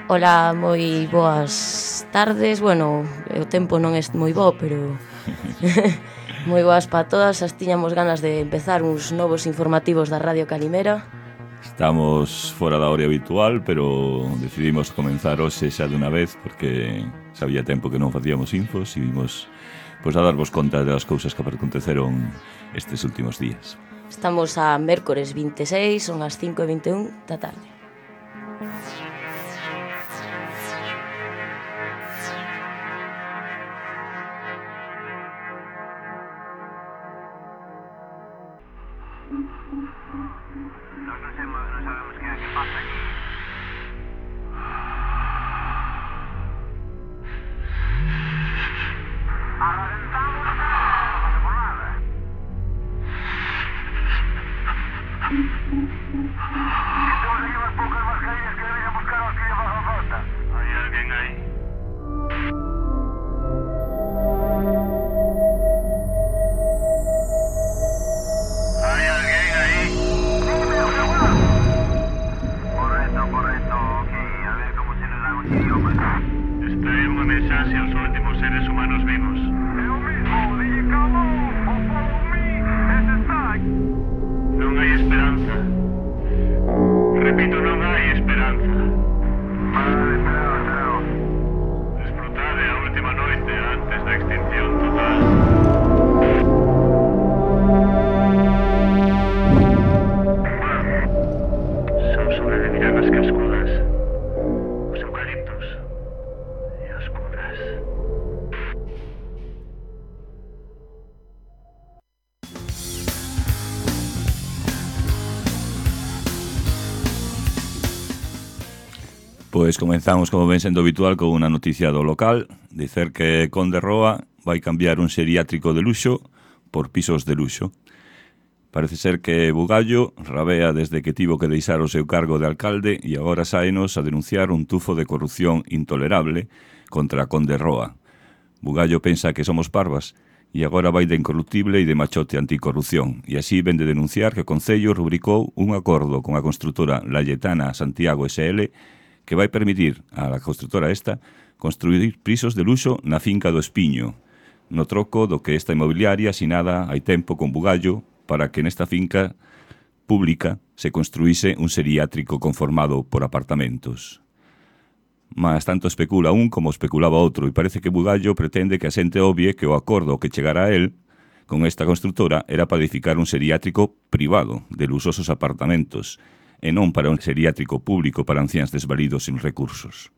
Ola, moi boas tardes. Bueno, o tempo non é moi bo, pero moi boas para todas. As tiñamos ganas de empezar uns novos informativos da Radio Calimera. Estamos fora da hora habitual, pero decidimos comenzar hoxe xa dunha vez porque sabía tempo que non facíamos infos e vimos a darvos conta das cousas que aconteceron estes últimos días. Estamos a mércores 26, son as 5:21 da tarde. Pois comenzamos, como ven sendo habitual, con unha noticia do local. Dicer que Conde Roa vai cambiar un xeriátrico de luxo por pisos de luxo. Parece ser que Bugallo rabea desde que tivo que deixar o seu cargo de alcalde e agora saenos a denunciar un tufo de corrupción intolerable contra Conde Roa. Bugallo pensa que somos parvas e agora vai de incorruptible e de machote anticorrupción. E así ven de denunciar que o Concello rubricou un acordo con a construtora Layetana Santiago SL que vai permitir a construtora esta construir pisos de luxo na finca do Espiño, no troco do que esta inmobiliaria asinada hai tempo con Bugallo para que nesta finca pública se construíse un xeriátrico conformado por apartamentos. Mas tanto especula un como especulaba outro e parece que Bugallo pretende que a xente obvie que o acordo que chegará a él con esta construtora era para edificar un xeriátrico privado de luxosos apartamentos e non para un xeriátrico público para anciáns desvalidos sin recursos.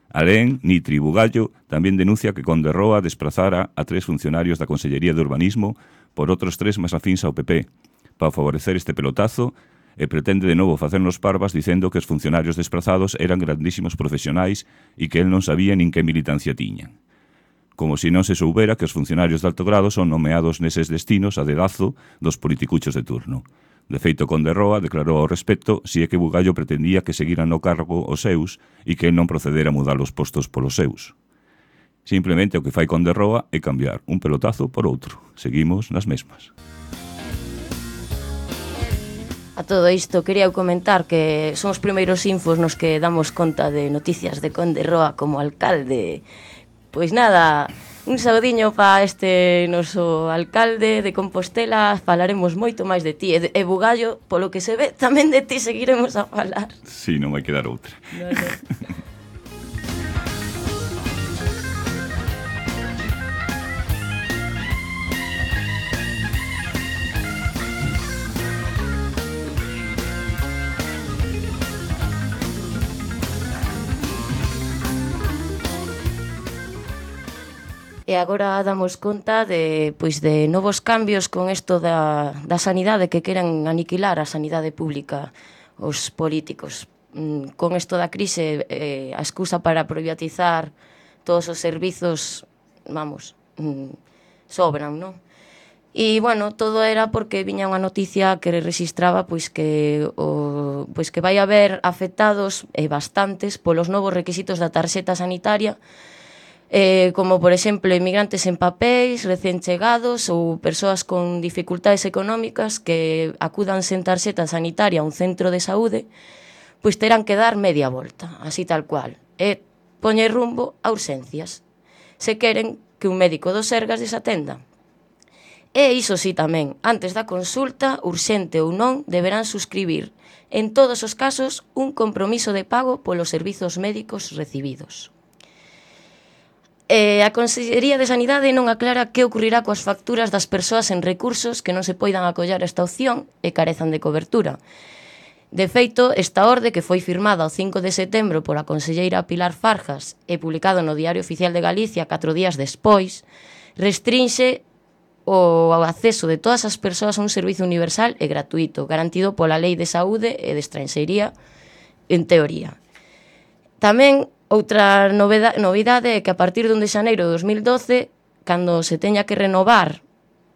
Alén, Nitri Bugallo tamén denuncia que Conde Roa desprazara a 3 funcionarios da Consellería de Urbanismo por outros 3 máis afíns ao PP, para favorecer este pelotazo e pretende de novo facernos parvas dicendo que os funcionarios desprazados eran grandísimos profesionais e que el non sabía nin que militancia tiñan. Como se non se soubera que os funcionarios de alto grado son nomeados neses destinos a dedazo dos politicuchos de turno. De feito, Conde Roa declarou ao respecto si é que Bugallo pretendía que seguiran no cargo os seus e que el non procedera a mudar os postos polos seus. Simplemente o que fai Conde Roa é cambiar un pelotazo por outro. Seguimos nas mesmas. A todo isto quería comentar que son os primeiros infos nos que damos conta de noticias de Conde Roa como alcalde. Pois nada, un saudiño para este noso alcalde de Compostela. Falaremos moito máis de ti. E Bugallo, polo que se ve, tamén de ti seguiremos a falar. Si, non vai quedar outra. No. E agora damos conta de novos cambios con isto da sanidade, que queren aniquilar a sanidade pública os políticos. Con isto da crise, a excusa para privatizar todos os servizos, sobran, non? E, bueno, todo era porque viña unha noticia que registraba que vai haber afectados bastantes polos novos requisitos da tarxeta sanitaria, como, por exemplo, inmigrantes en papéis, recén chegados ou persoas con dificultades económicas que acudan sen tarxeta sanitaria a un centro de saúde, pois terán que dar media volta, así tal cual, e poñer rumbo a urxencias, se queren que un médico do Sergas desatenda. E iso sí tamén, antes da consulta, urxente ou non, deberán suscribir, en todos os casos, un compromiso de pago polos servizos médicos recibidos. A Consellería de Sanidade non aclara que ocurrirá coas facturas das persoas en recursos que non se poidan acollar esta opción e carezan de cobertura. De feito, esta orde, que foi firmada o 5 de setembro pola conselleira Pilar Farjas e publicado no Diario Oficial de Galicia 4 días despois, restrinxe o acceso de todas as persoas a un servizo universal e gratuito, garantido pola Lei de Saúde e de Estranxeiría, en teoría. Tamén, outra novidade é que a partir de 1 de xaneiro de 2012, cando se teña que renovar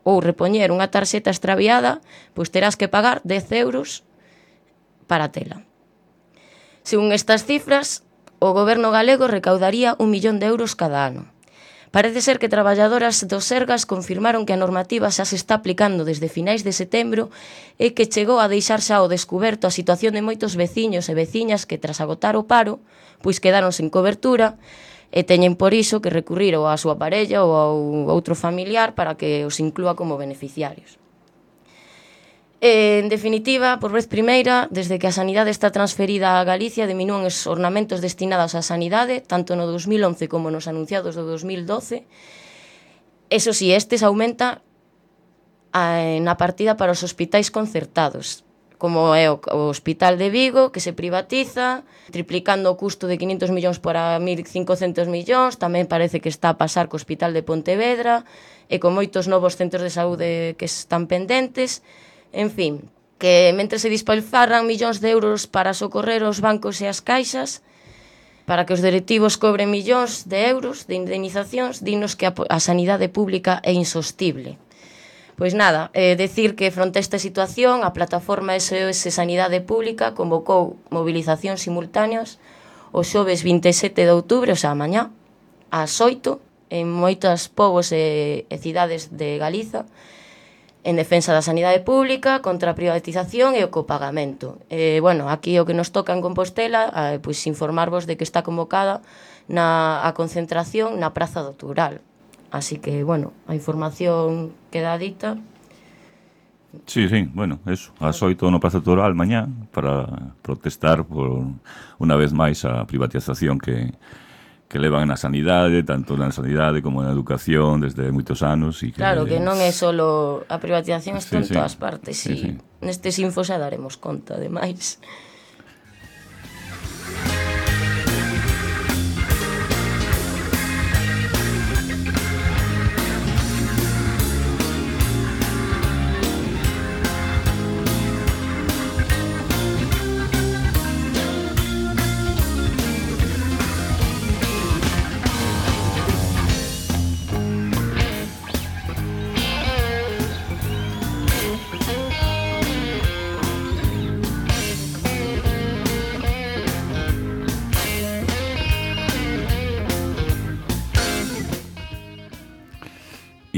ou repoñer unha tarxeta extraviada, pois terás que pagar 10 euros para tela. Según estas cifras, o goberno galego recaudaría 1 millón de euros cada ano. Parece ser que traballadoras do Sergas confirmaron que a normativa xa se está aplicando desde finais de setembro e que chegou a deixar xa ao descuberto a situación de moitos veciños e veciñas que, tras agotar o paro, pois quedaron sen cobertura e teñen por iso que recurrir ou á súa parella ou ao outro familiar para que os inclúa como beneficiarios. En definitiva, por vez primeira, desde que a sanidade está transferida a Galicia, diminúen os ornamentos destinados á sanidade, tanto no 2011 como nos anunciados do 2012. Eso si, estes aumenta na partida para os hospitais concertados, como é o Hospital de Vigo, que se privatiza, triplicando o custo de 500 millóns para 1.500 millóns, tamén parece que está a pasar co Hospital de Pontevedra, e con moitos novos centros de saúde que están pendentes. En fin, que mentre se dispalfarran millóns de euros para socorrer os bancos e as caixas, para que os directivos cobren millóns de euros de indemnizacións, dinos que a sanidade pública é insostible. Pois nada, decir que fronte a esta situación, a plataforma SOS Sanidade Pública convocou movilizacións simultáneas o xoves 27 de outubro, o sea, mañá, ás 8, en moitos povos e cidades de Galiza, en defensa da sanidade pública, contra a privatización e o copagamento. Bueno, aquí o que nos toca en Compostela, pois informarvos de que está convocada a concentración na Praza do Toural. Así que, bueno, a información queda dita. Sí, bueno, eso, ás 8 no Praza do Toural mañá, para protestar por unha vez máis a privatización que levan na sanidade, tanto na sanidade como na educación desde moitos anos. E claro, que non é só a privatización, está en todas partes. Sí. Nestes infos xa daremos conta, ademais.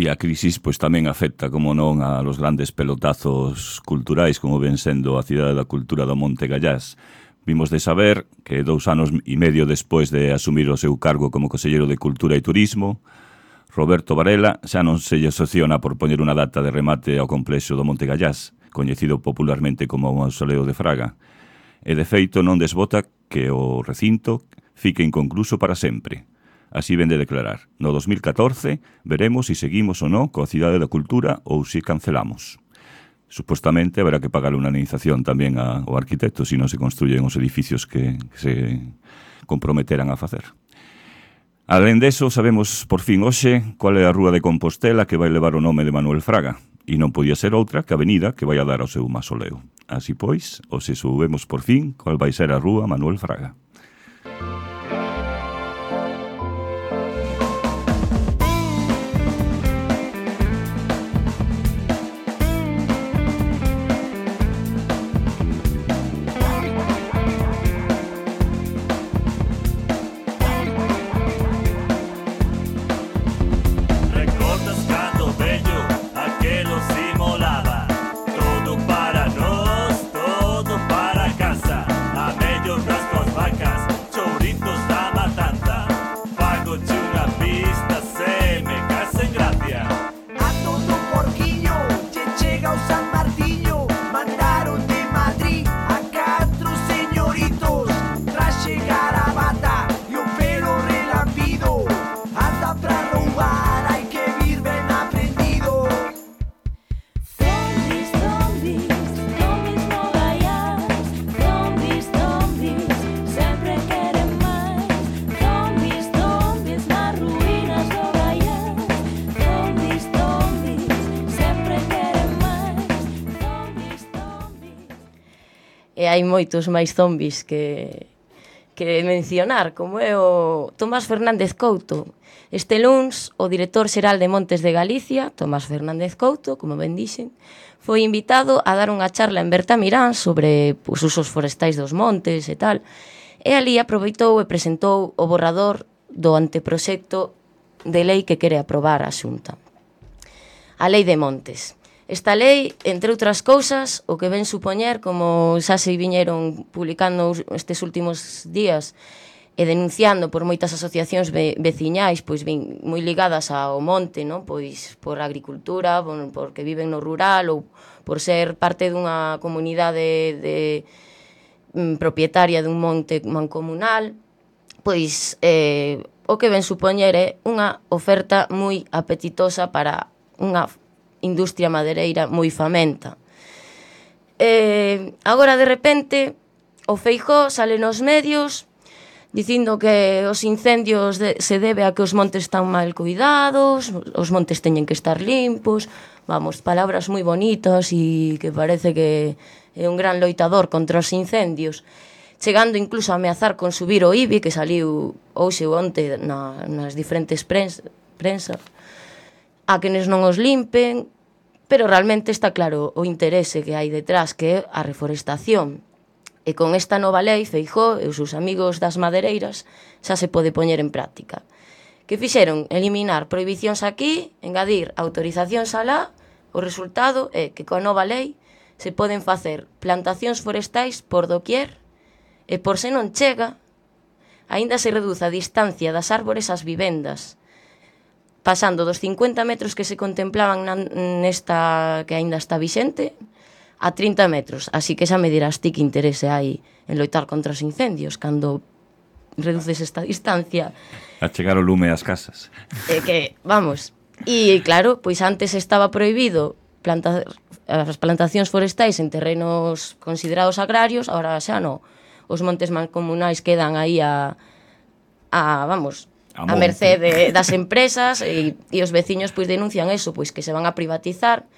E a crisis pois tamén afecta, como non, a los grandes pelotazos culturais como ven sendo a Cidade da Cultura do Monte Gallás. Vimos de saber que 2 anos e medio despois de asumir o seu cargo como conselleiro de Cultura e Turismo, Roberto Varela xa non se lle asociona por poñer unha data de remate ao complexo do Monte Gallás, coñecido popularmente como o Mausoleo de Fraga. E de feito non desbota que o recinto fique inconcluso para sempre. Así ven de declarar. No 2014 veremos se seguimos ou non coa Cidade da Cultura ou se cancelamos. Supostamente haberá que pagar unha indemnización tamén ao arquitecto se non se construyen os edificios que se comprometeran a facer. Alén deso, sabemos por fin hoxe cual é a rúa de Compostela que vai levar o nome de Manuel Fraga, e non podía ser outra que a avenida que vai a dar ao seu mausoleo. Así pois, hoxe soubemos por fin cual vai ser a rúa Manuel Fraga. Todo para nós, todo para casa. A melhor hai moitos máis zombies que mencionar, como é o Tomás Fernández Couto. Este luns, o director xeral de Montes de Galicia, Tomás Fernández Couto, como ben dixen, foi invitado a dar unha charla en Bertamirán sobre os usos forestais dos montes e tal, e ali aproveitou e presentou o borrador do anteproxecto de lei que quere aprobar a Xunta. A Lei de Montes. Esta lei, entre outras cousas, o que ven supoñer, como xa se viñeron publicando estes últimos días e denunciando por moitas asociacións veciñais, pois ben moi ligadas ao monte, non? Pois por agricultura, porque viven no rural ou por ser parte dunha comunidade propietaria dun monte mancomunal, pois o que ven supoñer é unha oferta moi apetitosa para unha industria madereira moi famenta. Agora, de repente, o Feijóo sale nos medios dicindo que os incendios se debe a que os montes están mal cuidados, os montes teñen que estar limpos, vamos, palabras moi bonitas e que parece que é un gran loitador contra os incendios, chegando incluso a ameazar con subir o IBI, que saliu hoxe ou onte nas diferentes prensa, a quenes non os limpen, pero realmente está claro o interese que hai detrás, que é a reforestación. E con esta nova lei, Feijóo e os seus amigos das madereiras xa se pode poñer en práctica. Que fixeron? Eliminar prohibicións aquí, engadir autorizacións alá. O resultado é que coa nova lei se poden facer plantacións forestais por doquier e por se non chega, aínda se reduce a distancia das árbores ás vivendas, pasando dos 50 metros que se contemplaban nesta que aínda está vixente a 30 metros. Así que xa me dirás ti que interese hai en loitar contra os incendios cando reduces esta distancia. A chegar o lume ás casas. Que, vamos, e claro, pois antes estaba prohibido as plantacións forestais en terrenos considerados agrarios, agora xa non. Os montes mancomunais quedan aí a merced das empresas e os veciños pois denuncian eso, pois que se van a privatizar.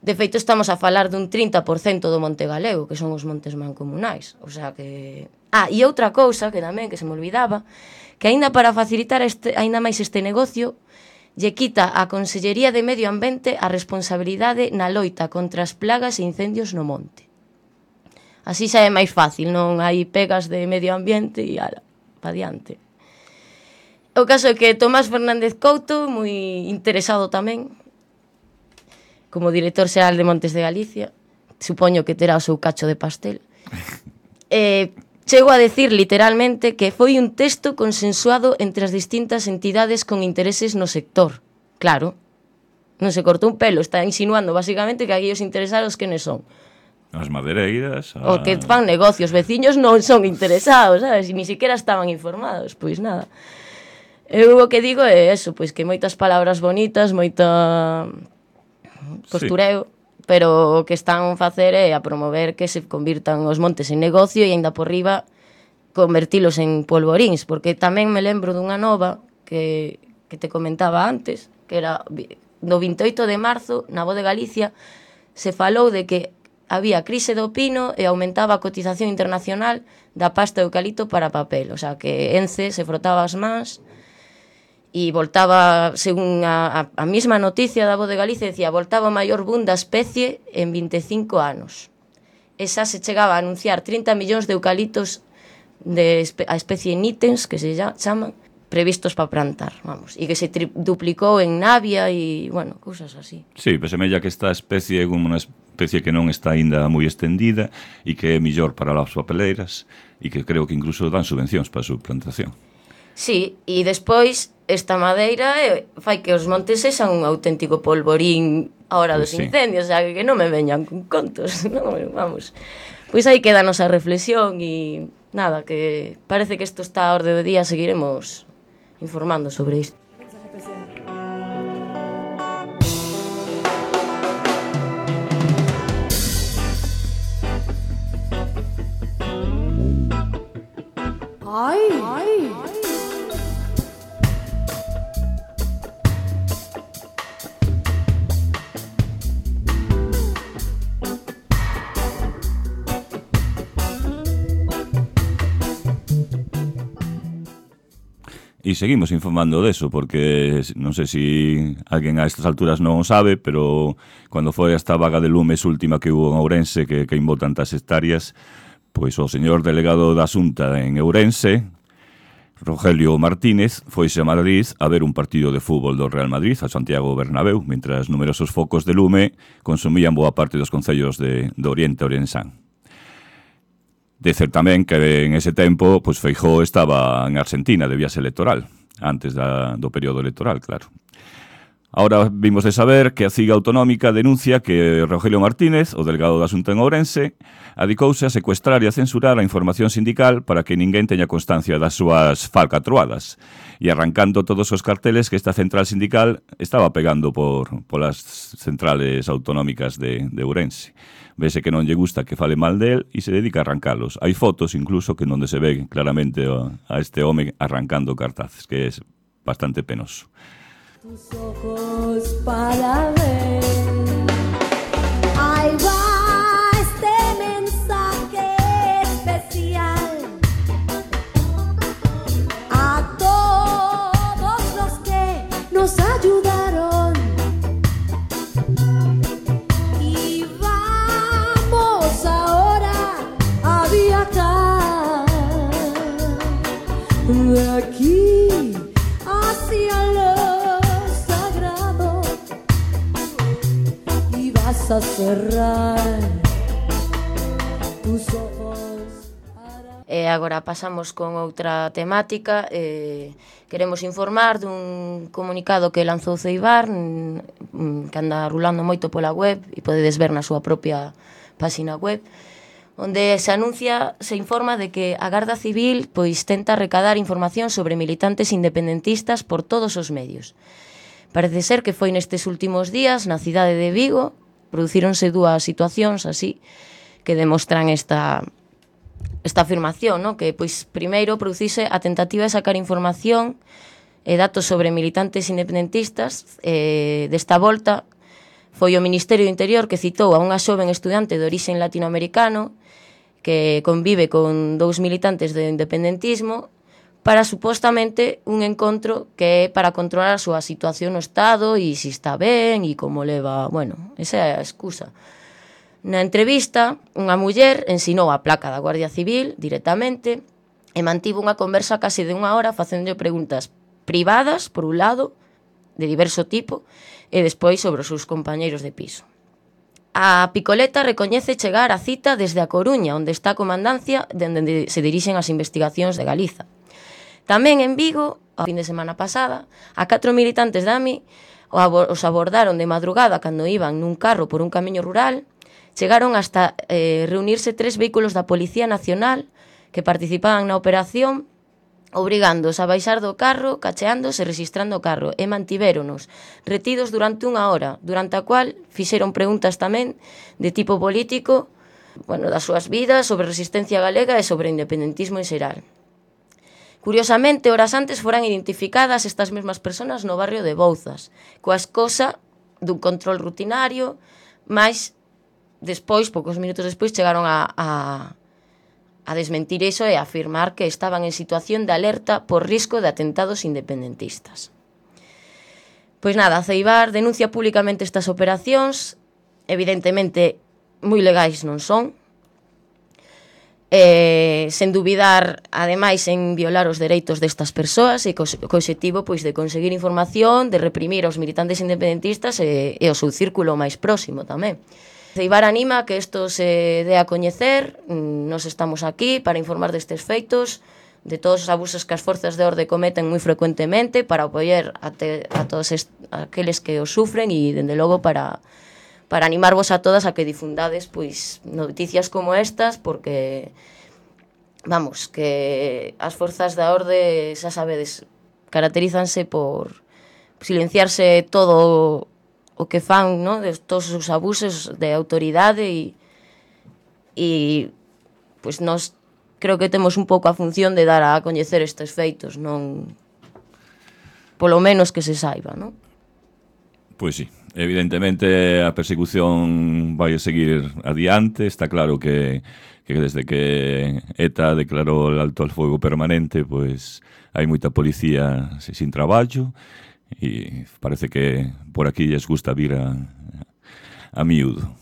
De feito, estamos a falar dun 30% do monte galego, que son os montes mancomunais. O sea que... e outra cousa, que tamén, que se me olvidaba, que aínda para facilitar aínda máis este negocio, lle quita a Consellería de Medio Ambiente a responsabilidade na loita contra as plagas e incendios no monte. Así xa é máis fácil, non hai pegas de medio ambiente e ala, pa diante. O caso é que Tomás Fernández Couto, moi interesado tamén, como director xeral de Montes de Galicia, supoño que terá o seu cacho de pastel, chego a decir literalmente que foi un texto consensuado entre as distintas entidades con intereses no sector. Claro, non se cortou un pelo, está insinuando basicamente que aquí os interesados quenes son. As madeireiras... O que fan negocios, veciños non son interesados, sabes? E ni siquiera estaban informados, pois nada. Eu o que digo é eso, pois que moitas palabras bonitas, moita postureo, sí. Pero o que están a facer é a promover que se convirtan os montes en negocio e aínda por riba convertilos en polvoríns, porque tamén me lembro dunha nova que te comentaba antes, que era do 28 de marzo, na Voz de Galicia, se falou de que había crise do pino e aumentaba a cotización internacional da pasta de eucalipto para papel, o sea que Ence se frotaba as mans e voltaba, según a mesma noticia da Voz de Galicia, decía, voltaba o maior boom da especie en 25 anos. Esa se chegaba a anunciar 30 millóns de eucaliptos a especie nítens, que se chaman, previstos para plantar, vamos, e que se duplicou en Navia e, bueno, cousas así. Sí, pues semella que esta especie é unha especie que non está aínda moi extendida e que é millor para as papeleiras e que creo que incluso dan subvencións para a súa plantación. Sí, e despois esta madeira fai que os montes sexan un auténtico polvorín a hora dos incendios, o sea, que non me veñan con contos, non, vamos. Pois aí queda a nosa reflexión e nada, que parece que isto está a orde do día, seguiremos informando sobre isto. E seguimos informando deso, porque non sei se alguén a estas alturas non o sabe, pero cando foi esta vaga de lumes última que hubo en Ourense, que queimou tantas hectáreas, pois o señor delegado da Xunta en Ourense, Rogelio Martínez, foise a Madrid a ver un partido de fútbol do Real Madrid, a Santiago Bernabéu, mentras numerosos focos de lume consumían boa parte dos concellos de Oriente Ourensán. Dicer tamén que en ese tempo pois Feijóo estaba en Argentina de viaxe electoral, antes do período electoral, claro. Ahora vimos de saber que a CIGA Autonómica denuncia que Rogelio Martínez, o delegado da Xunta en Ourense, adicouse a secuestrar e a censurar a información sindical para que ninguén teña constancia das súas falcatruadas e arrancando todos os carteles que esta central sindical estaba pegando polas centrales autonómicas de Ourense. Vese que non lle gusta que fale mal del e se dedica a arrancalos. Hai fotos incluso que onde se ve claramente a este home arrancando cartaces, que é bastante penoso. Tus ojos para ver. Ahí va este mensaje especial a todos los que nos ayudaron. Y vamos ahora a viajar de aquí hacia lo sagrado y vas a cerrar tus ojos. E agora pasamos con outra temática. Queremos informar dun comunicado que lanzou Ceibar, que anda rulando moito pola web e podedes ver na súa propia página web, onde se informa de que a Garda Civil pois tenta recadar información sobre militantes independentistas por todos os medios. Parece ser que foi nestes últimos días na cidade de Vigo, producíronse dúas situacións así que demostran esta afirmación, ¿no? Que pois primeiro producise a tentativa de sacar información e datos sobre militantes independentistas. Desta volta foi o Ministerio do Interior que citou a unha xoven estudante de orixen latinoamericano que convive con dous militantes do independentismo para supostamente un encontro que é para controlar a súa situación no Estado e se está ben e como leva, bueno, esa é a excusa. Na entrevista, unha muller ensinou a placa da Guardia Civil directamente e mantivo unha conversa case de unha hora facendo preguntas privadas, por un lado, de diverso tipo, e despois sobre os seus compañeiros de piso. A Picoleta recoñece chegar á cita desde a Coruña, onde está a comandancia onde se dirixen as investigacións de Galiza. Tamén en Vigo, a fin de semana pasada, a 4 militantes da AMI os abordaron de madrugada cando iban nun carro por un camiño rural. Chegaron hasta reunirse 3 vehículos da Policía Nacional que participaban na operación, obrigándoos a baixar do carro, cacheándose e registrando o carro, e mantivéronos retidos durante unha hora, durante a cual fixeron preguntas tamén de tipo político, bueno, das súas vidas, sobre resistencia galega e sobre o independentismo en xeral. Curiosamente, horas antes foran identificadas estas mesmas persoas no barrio de Bouzas, coa escosa dun control rutinario, mas despois, poucos minutos despois, chegaron a desmentir iso e a afirmar que estaban en situación de alerta por risco de atentados independentistas. Pois nada, Ceibar denuncia públicamente estas operacións, evidentemente moi legais non son, sen dubidar, ademais, en violar os dereitos destas persoas e co obxectivo pois, de conseguir información, de reprimir aos militantes independentistas e o seu círculo máis próximo tamén. Ceibar anima que isto se dé a coñecer. Nos estamos aquí para informar destes feitos, de todos os abusos que as forzas de orde cometen moi frecuentemente, para apoiar a todos aqueles que os sufren e, dende logo, para animarvos a todas a que difundades pois noticias como estas, porque, vamos, que as forzas da orde, xa sabedes, caracterízanse por silenciarse todo o que fan, ¿no? De todos os abusos de autoridade e pois nós creo que temos un pouco a función de dar a coñecer estes feitos, non polo menos que se saiba, ¿no? Pois sí, Evidentemente a persecución vai a seguir adiante. Está claro que desde que ETA declarou el alto al fuego permanente, pois hai moita policía sin traballo e parece que por aquí lles gusta vir a miúdo.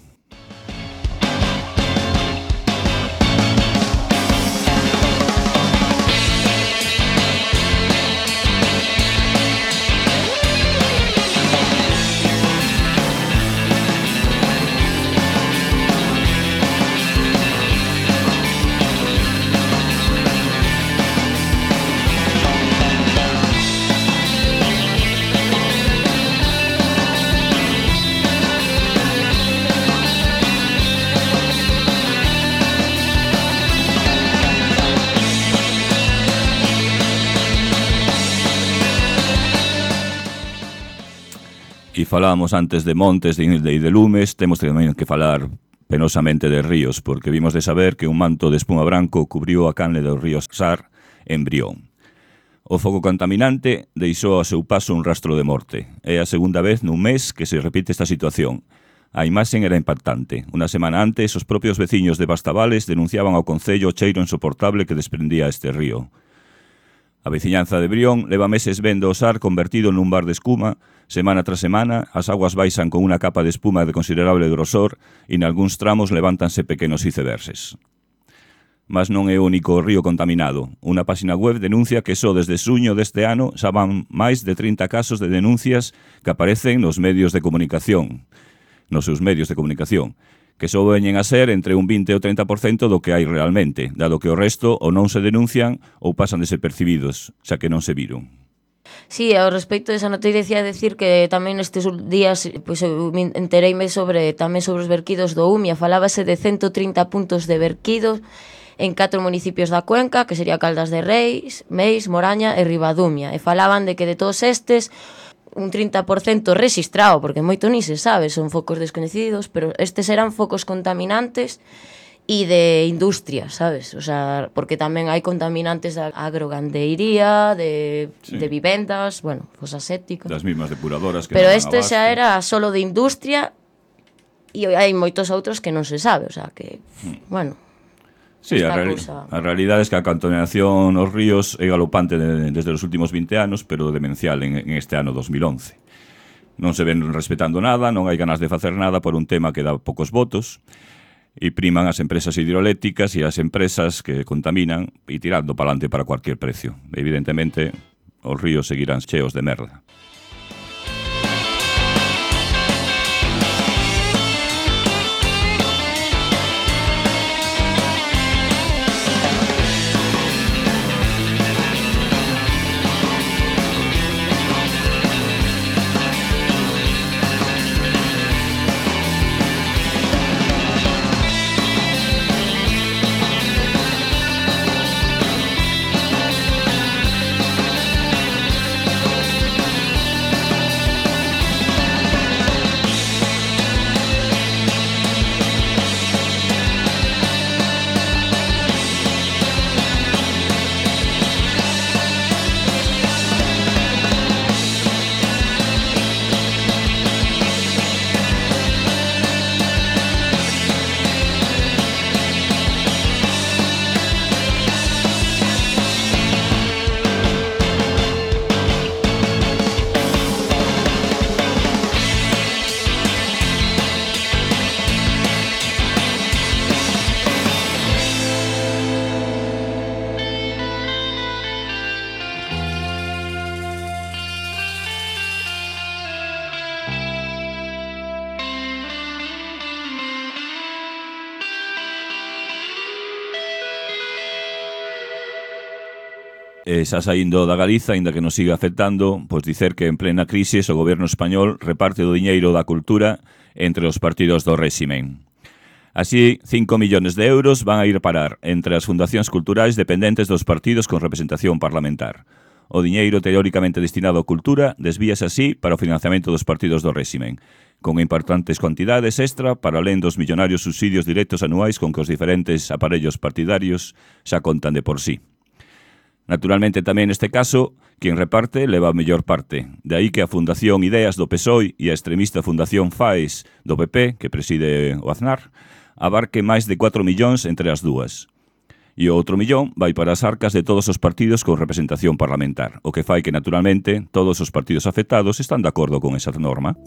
E falábamos antes de montes e de lumes, temos tamén que falar penosamente de ríos, porque vimos de saber que un manto de espuma branco cubriu a canle do río Sar en Brión. O foco contaminante deixou a seu paso un rastro de morte. É a segunda vez nun mes que se repite esta situación. A imaxen era impactante. Unha semana antes, os propios veciños de Bastavales denunciaban ao concello o cheiro insoportable que desprendía este río. A veciñanza de Brión leva meses vendo o Sar convertido nun bar de espuma. Semana tras semana, as aguas baixan con unha capa de espuma de considerable grosor e nalgúns tramos levántanse pequenos iceberses. Mas non é o único río contaminado. Unha páxina web denuncia que só desde xuño deste ano xa van máis de 30 casos de denuncias que aparecen nos medios de comunicación, nos seus medios de comunicación, que só veñen a ser entre un 20 ou 30% do que hai realmente, dado que o resto ou non se denuncian ou pasan desapercibidos, xa que non se viron. Sí, ao respecto desa noticia decir que tamén nestes días pois eu entereime tamén sobre os verquidos do Umia. Falábase de 130 puntos de verquidos en 4 municipios da Cuenca, que sería Caldas de Reis, Meis, Moraña e Ribadumia. E falaban de que de todos estes un 30% rexistrado, porque moito ni se sabe, son focos descoñecidos, pero estes eran focos contaminantes e de industria, sabes? O sea, porque tamén hai contaminantes da agrogandeiría, de vivendas, bueno, fosas sépticas. Das mismas depuradoras que pero este xa era solo de industria e hai moitos outros que non se sabe, o sea, que, bueno... Sí, a realidade é que a contaminación nos ríos é galopante desde os últimos 20 anos, pero demencial en este ano 2011. Non se ven respetando nada, non hai ganas de facer nada por un tema que dá poucos votos, e priman as empresas hidroeléctricas e as empresas que contaminan e tirando palante para cualquier precio. Evidentemente, os ríos seguirán cheos de merda. Xa saindo da Galiza, aínda que nos siga afectando, pois dicer que en plena crise o goberno español reparte o diñeiro da cultura entre os partidos do réximen. Así, 5 millóns de euros van a ir parar entre as fundacións culturais dependentes dos partidos con representación parlamentar. O diñeiro teóricamente destinado á cultura desvíase así para o financiamento dos partidos do réximen, con importantes cuantidades extra para alén dos millonarios subsidios directos anuais con que os diferentes aparellos partidarios xa contan de por sí. Naturalmente tamén neste caso, quen reparte leva a mellor parte. De aí que a Fundación Ideas do PSOE e a extremista Fundación FAES do PP, que preside o Aznar, abarque máis de 4 millóns entre as dúas. E o outro millón vai para as arcas de todos os partidos con representación parlamentar, o que fai que, naturalmente, todos os partidos afectados están de acordo con esa norma.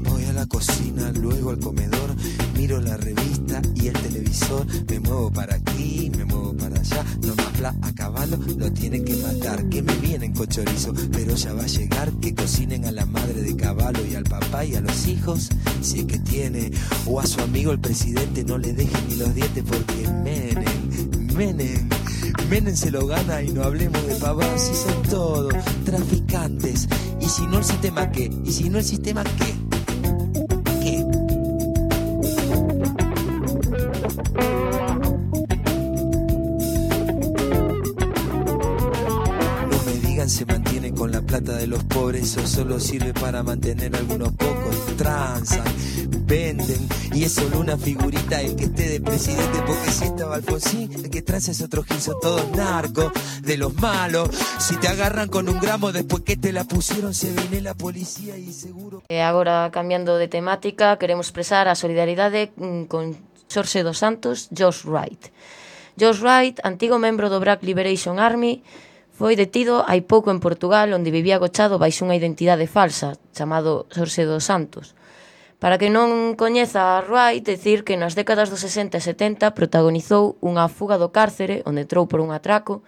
Voy a la cocina, luego al comedor, miro la revista y el televisor, me muevo para aquí, me muevo para allá, no me habla a caballo, lo tienen que matar, que me vienen con chorizo, pero ya va a llegar, que cocinen a la madre de caballo y al papá y a los hijos, si es que tiene, o a su amigo el presidente, no le dejen ni los dientes porque Menem se lo gana y no hablemos de pavadas, si son todos traficantes, y si no el sistema ¿qué? ¿Y si no el sistema qué? ¿Qué? Se mantienen con la plata de los pobres, eso solo sirve para mantener a algunos pocos, transan, venden, y es solo una figurita el que esté de presidente, porque si estaba Alfonsín, el que transa es otro gil, son todos narcos, de los malos, si te agarran con un gramo después que te la pusieron, se viene la policía y seguro... Agora, cambiando de temática, queremos expresar a solidaridade con Xorxe dos Santos, George Wright. George Wright, antigo membro do Black Liberation Army, foi detido hai pouco en Portugal, onde vivía agochado baixo unha identidade falsa, chamado Xorxe dos Santos. Para que non coñeza a Wright, decir que nas décadas dos 60 e 70 protagonizou unha fuga do cárcere, onde entrou por un atraco,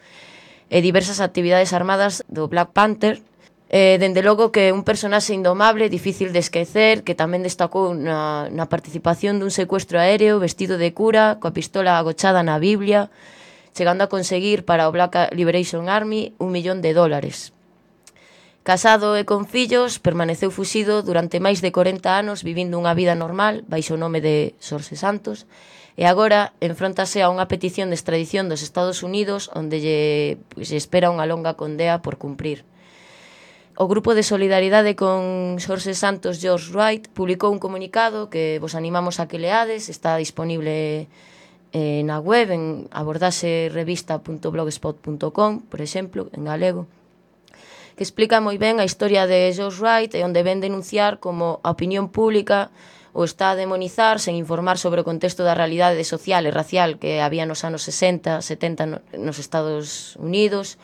e diversas actividades armadas do Black Panther, dende logo que un personaxe indomable, difícil de esquecer, que tamén destacou na participación dun secuestro aéreo, vestido de cura, coa pistola agochada na Biblia, chegando a conseguir para o Black Liberation Army $1 millón. Casado e con fillos, permaneceu fuxido durante máis de 40 anos vivindo unha vida normal baixo o nome de Xorxe Santos e agora enfróntase a unha petición de extradición dos Estados Unidos onde lle espera unha longa condea por cumprir. O grupo de solidaridade con Xorxe Santos George Wright publicou un comunicado que vos animamos a que leades, está disponible na web en abordaxerevista.blogspot.com, por exemplo, en galego, que explica moi ben a historia de George Wright e onde ven denunciar como a opinión pública o está a demonizar sen informar sobre o contexto da realidade social e racial que había nos anos 60, 70 nos Estados Unidos,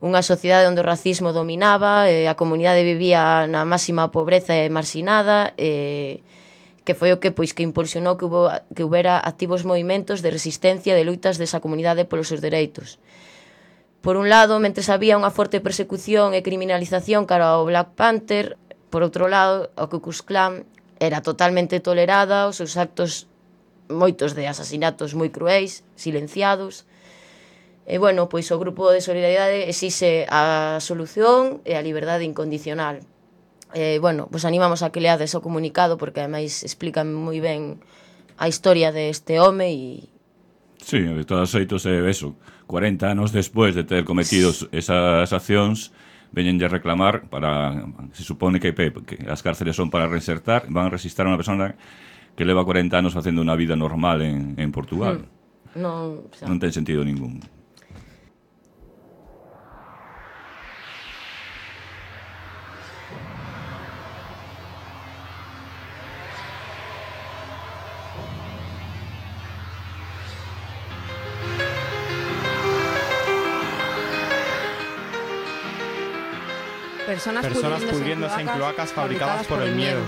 unha sociedade onde o racismo dominaba, a comunidade vivía na máxima pobreza e marxinada, que foi o que impulsionou que houbera activos movimentos de resistencia de luitas desa comunidade polos seus dereitos. Por un lado, mentres había unha forte persecución e criminalización cara ao Black Panther, por outro lado, o Ku Klux Klan era totalmente tolerada, os seus actos, moitos de asasinatos moi cruéis, silenciados. E, bueno, pois o grupo de solidaridade exixe a solución e a liberdade incondicional. Bueno, vos animamos a que leades o comunicado porque ademais explican moi ben a historia deste home e... Sí, de todos os xeitos é eso, 40 anos despois de ter cometido esas accións veñenlle a reclamar para, se supone que as cárceles son para reinsertar, van a resistar a unha persona que leva 40 anos facendo unha vida normal en Portugal. Non ten sentido ningún. Personas pudriéndose en cloacas fabricadas por el miedo.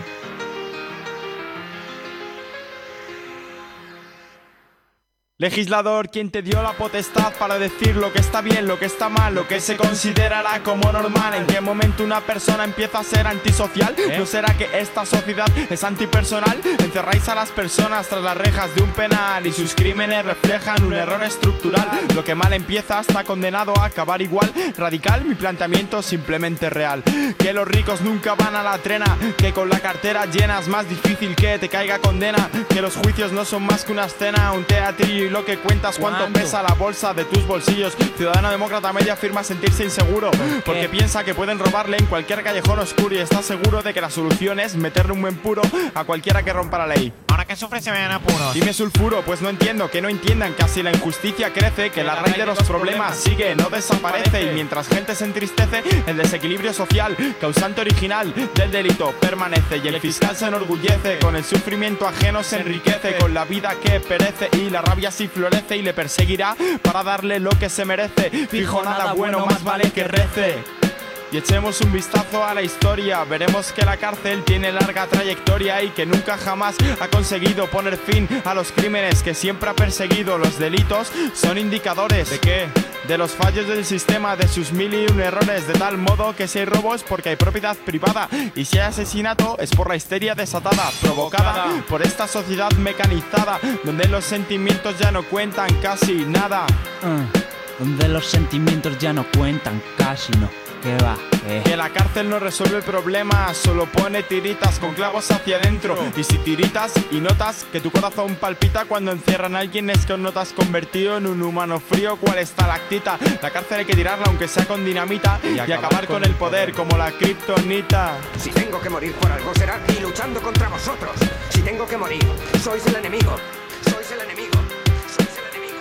Legislador, quien te dio la potestad para decir lo que está bien, lo que está mal, lo que se considerará como normal. ¿En qué momento una persona empieza a ser antisocial? ¿No será que esta sociedad es antipersonal? Encerráis a las personas tras las rejas de un penal y sus crímenes reflejan un error estructural. Lo que mal empieza está condenado a acabar igual. Radical, mi planteamiento simplemente real. Que los ricos nunca van a la trena, que con la cartera llena es más difícil que te caiga condena, que los juicios no son más que una escena, un teatrillo y lo que cuentas, cuánto pesa la bolsa de tus bolsillos. Ciudadano demócrata medio afirma sentirse inseguro porque piensa que pueden robarle en cualquier callejón oscuro y está seguro de que la solución es meterle un buen puro a cualquiera que rompa la ley. Ahora que sufre se ven apuros. Dime sulfuro, pues no entiendo, que no entiendan que así la injusticia crece, que la raíz de los problemas sigue, no desaparece, y mientras gente se entristece, el desequilibrio social, causante original del delito, permanece, y el fiscal se enorgullece, con el sufrimiento ajeno se enriquece, con la vida que perece, y la rabia sí florece y le perseguirá para darle lo que se merece. Fijo, nada bueno, más vale que rece. Y echemos un vistazo a la historia, veremos que la cárcel tiene larga trayectoria y que nunca jamás ha conseguido poner fin a los crímenes que siempre ha perseguido. Los delitos son indicadores ¿de qué? De los fallos del sistema, de sus 1001 errores, de tal modo que si hay robo es porque hay propiedad privada y si hay asesinato es por la histeria desatada, provocada por esta sociedad mecanizada, donde los sentimientos ya no cuentan casi nada. Donde los sentimientos ya no cuentan casi no. ¿Qué va? Que la cárcel no resuelve el problema, solo pone tiritas con clavos hacia adentro. Y si tiritas y notas que tu corazón palpita cuando encierran a alguien, es que no te has convertido en un humano frío cual estalactita. La cárcel hay que tirarla aunque sea con dinamita y acabar con el poder como la kriptonita. Si tengo que morir por algo será y luchando contra vosotros. Si tengo que morir, sois el enemigo. Sois el enemigo. Sois el enemigo.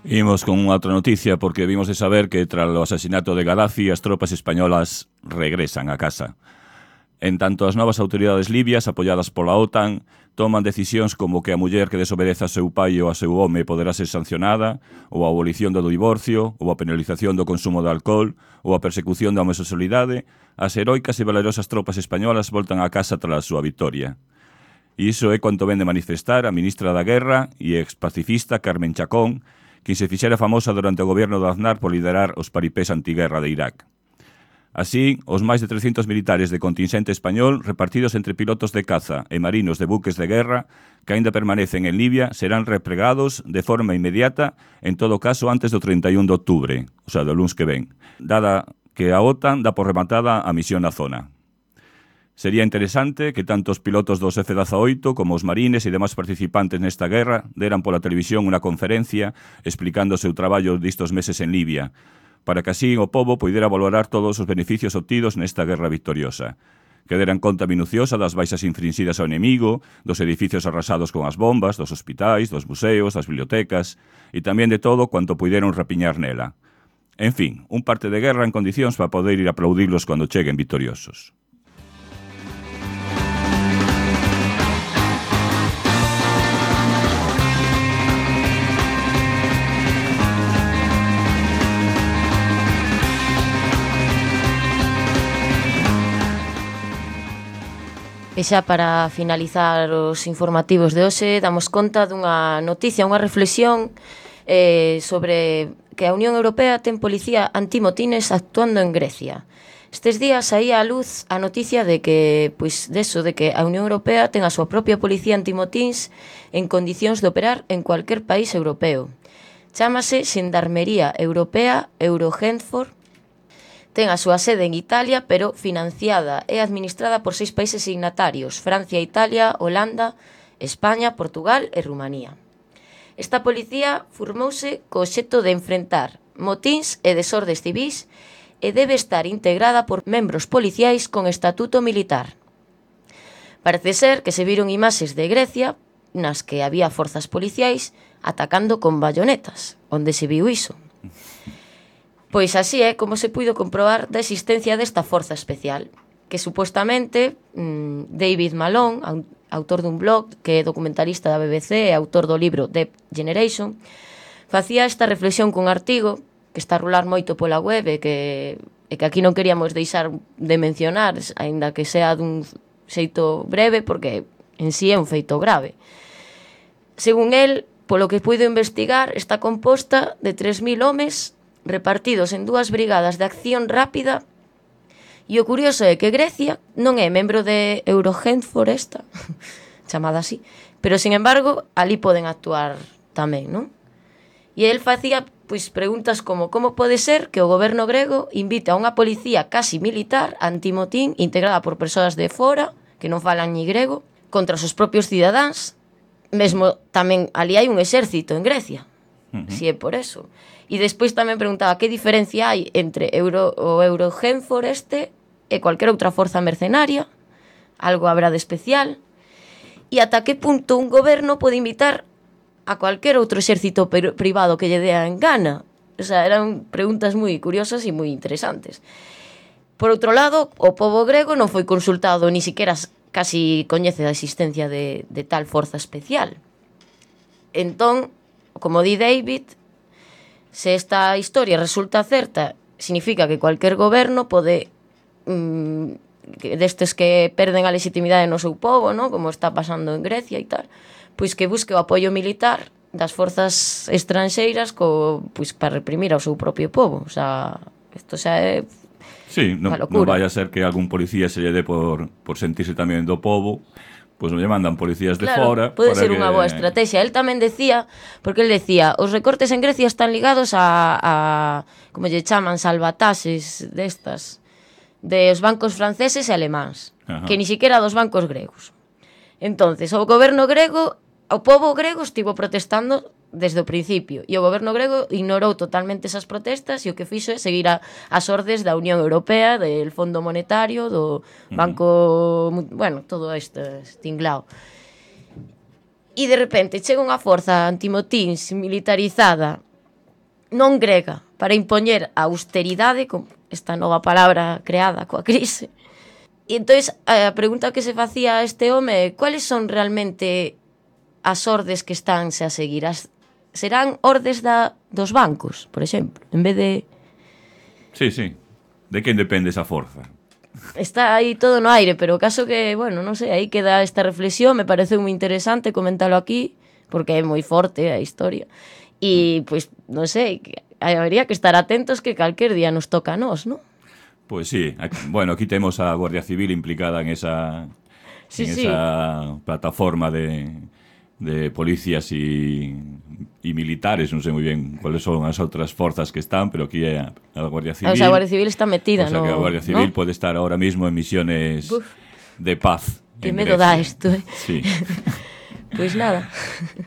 Imos con outra noticia porque vimos de saber que tras o asasinato de Gaddafi as tropas españolas regresan a casa. En tanto, as novas autoridades libias, apoiadas pola OTAN, toman decisións como que a muller que desobedeza a seu pai ou a seu home poderá ser sancionada, ou a abolición do divorcio, ou a penalización do consumo de alcohol, ou a persecución da homosexualidade. As heroicas e valerosas tropas españolas voltan a casa tras a súa victoria. E iso é cuanto ven de manifestar a ministra da Guerra e ex-pacifista Carmen Chacón, quien se fixera famosa durante o goberno de Aznar por liderar os paripés antiguerra de Irak. Así, os máis de 300 militares de contingente español repartidos entre pilotos de caza e marinos de buques de guerra que aínda permanecen en Libia serán repregados de forma inmediata, en todo caso antes do 31 de outubro, o sea, do luns que ven, dada que a OTAN dá por rematada a misión na zona. Sería interesante que tanto os pilotos dos F-18 como os marines e demais participantes nesta guerra deran pola televisión unha conferencia explicando o seu traballo distos meses en Libia, para que así o pobo poidera valorar todos os beneficios obtidos nesta guerra victoriosa, que deran conta minuciosa das baixas infrinxidas ao enemigo, dos edificios arrasados con as bombas, dos hospitais, dos museos, das bibliotecas e tamén de todo cuanto puideron rapiñar nela. En fin, un parte de guerra en condicións para poder ir a aplaudirlos cando cheguen victoriosos. E xa para finalizar os informativos de hoxe, damos conta dunha noticia, unha reflexión sobre que a Unión Europea ten policía antimotines actuando en Grecia. Estes días saía a luz a noticia de que, pois, deso, de que a Unión Europea ten a súa propia policía antimotins en condicións de operar en cualquier país europeo. Chámase Xendarmería Europea Eurogenfor. Ten a súa sede en Italia, pero financiada e administrada por 6 países signatarios: Francia, Italia, Holanda, España, Portugal e Rumanía. Esta policía formouse co obxecto de enfrentar motíns e desordes civís e debe estar integrada por membros policiais con estatuto militar. Parece ser que se viron imaxes de Grecia nas que había forzas policiais atacando con bayonetas, onde se viu iso. Pois así é como se puido comprobar da existencia desta forza especial, que supostamente David Malone, autor dun blog, que é documentalista da BBC e autor do libro Deep Generation, facía esta reflexión cun artigo que está a rular moito pola web e que aquí non queríamos deixar de mencionar, aínda que sea dun xeito breve, porque en sí é un feito grave. Según el, polo que puido investigar, está composta de 3.000 homes repartidos en 2 brigadas de acción rápida, e o curioso é que Grecia non é membro de Eurogenfor esta, chamada así, pero, sin embargo, ali poden actuar tamén, non? E el facía pois preguntas como como pode ser que o goberno grego invite a unha policía casi militar antimotín integrada por persoas de fora que non falan ni grego contra os seus propios cidadáns. Mesmo tamén ali hai un exército en Grecia, si é por eso. E despois tamén preguntaba que diferencia hai entre o Eurogenfor e cualquier outra forza mercenaria, algo habrá de especial, e ata que punto un goberno pode invitar a cualquier outro exército privado que lle dea en gana. O sea, eran preguntas moi curiosas e moi interesantes. Por outro lado, o pobo grego non foi consultado, ni siquiera casi coñece a existencia de tal forza especial. Entón, como di David, se esta historia resulta certa, significa que cualquier goberno pode, destes que perden a legitimidade no seu pobo, ¿no? Como está pasando en Grecia e tal, pois que busque o apoio militar das forzas estranxeiras pois para reprimir ao seu propio povo. O sea, isto xa é sí, non vai a ser que algún policía se lle dé por sentirse tamén do povo, pois non lle mandan policías de fora. Pode ser unha boa estrategia. El tamén decía, porque el decía, os recortes en Grecia están ligados a como lle chaman, salvataxes destas, dos bancos franceses e alemáns, que ni siquiera dos bancos gregos. Entonces, o goberno grego, o pobo grego estivo protestando desde o principio, e o goberno grego ignorou totalmente esas protestas e o que fixo é seguir as ordes da Unión Europea, del Fondo Monetario, do Banco, bueno, todo este tinglao. E de repente chega unha forza antimotins militarizada non grega para impoñer a austeridade, con esta nova palabra creada coa crise. E entón a pregunta que se facía a este home é cuáles son realmente as ordes que estánse a seguir. Serán ordes dos bancos, por exemplo, en vez de... Sí. De quen depende esa forza? Está aí todo no aire, pero o caso que, bueno, non sei, aí queda esta reflexión, me parece moi interesante comentalo aquí, porque é moi forte a historia. E, pois, non sei, habría que estar atentos que calquer día nos toca a nós, non? Pois sí, bueno, aquí temos a Guardia Civil implicada en esa plataforma de policías e militares, non sei moi ben cuáles son as outras forzas que están, pero aquí é a Guardia Civil. O sea, a Guardia Civil está metida, ¿no? O sea, que a Guardia Civil pode estar ahora mismo en misiones de paz. Que medo dá isto, Sí. Pois nada.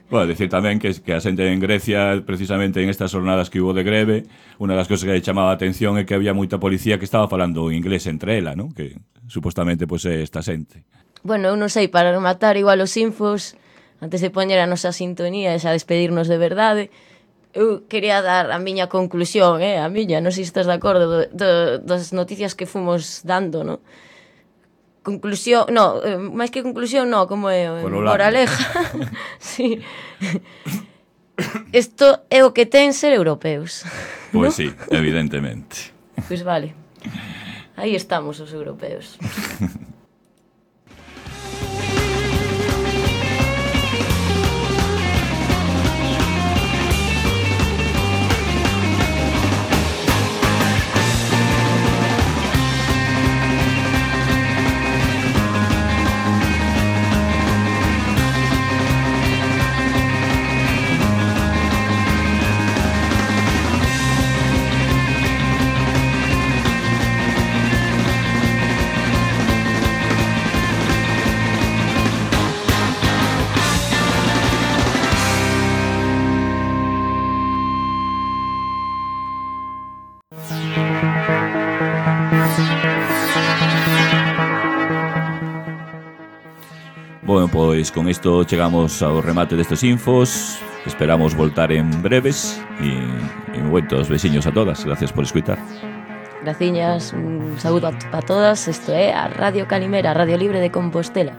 Bueno, decir tamén que a xente en Grecia, precisamente en estas jornadas que hubo de greve, unha das cosas que lle chamaba a atención é que había moita policía que estaba falando inglés entre ela, ¿no? Que supostamente pois é esta xente. Bueno, eu non sei, para rematar igual os infos, antes de poñer a nosa sintonía e xa despedirnos de verdade, eu quería dar a miña conclusión, non sei se estás de acordo, das noticias que fomos dando, non? Conclusión, máis que conclusión, como é moraleja. Sí. Isto é o que ten ser europeos. Pois sí, evidentemente. Pois vale. Aí estamos os europeos. Bueno, pois con isto chegamos ao remate destes infos. Esperamos voltar en breves e moitos besiños a todas. Gracias por escutar. Graciñas, un saúdo a todas. Isto é a Radio Calimera, Radio Libre de Compostela.